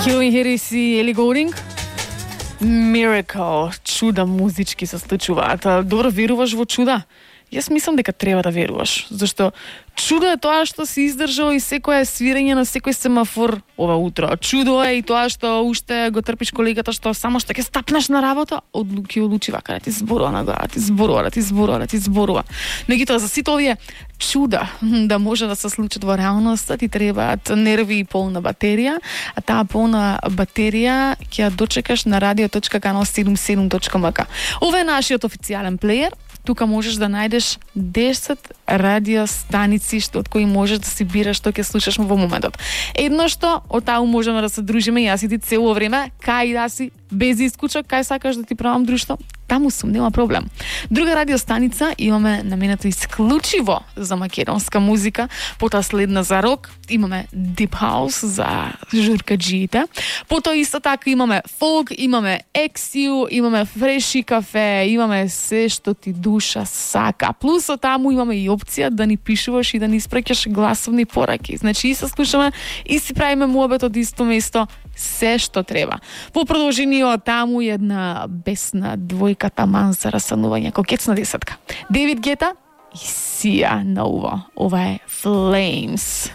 Calvin Harris и Ellie Goulding. Miracle, чуда музички се случуваат. Добро, веруваш во чуда? Јас мислам дека треба да веруваш, зашто чудо е тоа што си издржал и секое свирење на секој семафор ова утро. Чудо е и тоа што уште го трпиш колегата што само што ќе стапнеш на работа, одлуки одлучи вака да ти зборува на глава, ти зборува. Меѓутоа за сите овие чуда да може да се случат во реалноста, ти требаат нерви и полна батерија, а таа полна батерија ќе ја дочекаш на radio.canal77.mk. Ова е нашиот официјален плеер. Тука можеш да најдеш 10 радио станици од кои можеш да си бираш што ќе слушаш во моментот. Едно што од таму можеме да се дружиме, јас и ти цело време, кај да си без исклучок, кај сакаш да ти правам друштво, таму сум, нема проблем. Друга радио станица имаме наменето исклучиво за македонска музика, потоа следна за рок, имаме Deep House за журкаджиите, потоа исто така имаме фолк, имаме ексиу, имаме фреши кафе, имаме се што ти душа сака. Плюс од таму имаме и опција да ни пишуваш и да ни испраќаш гласовни пораки. Значи и се слушаме и си правиме муабет од исто место, се што треба. По продолжение од таму една бесна двојка таман за расанување, кокетна десетка. Девид Гета и Сија на уво. Ова е Flames.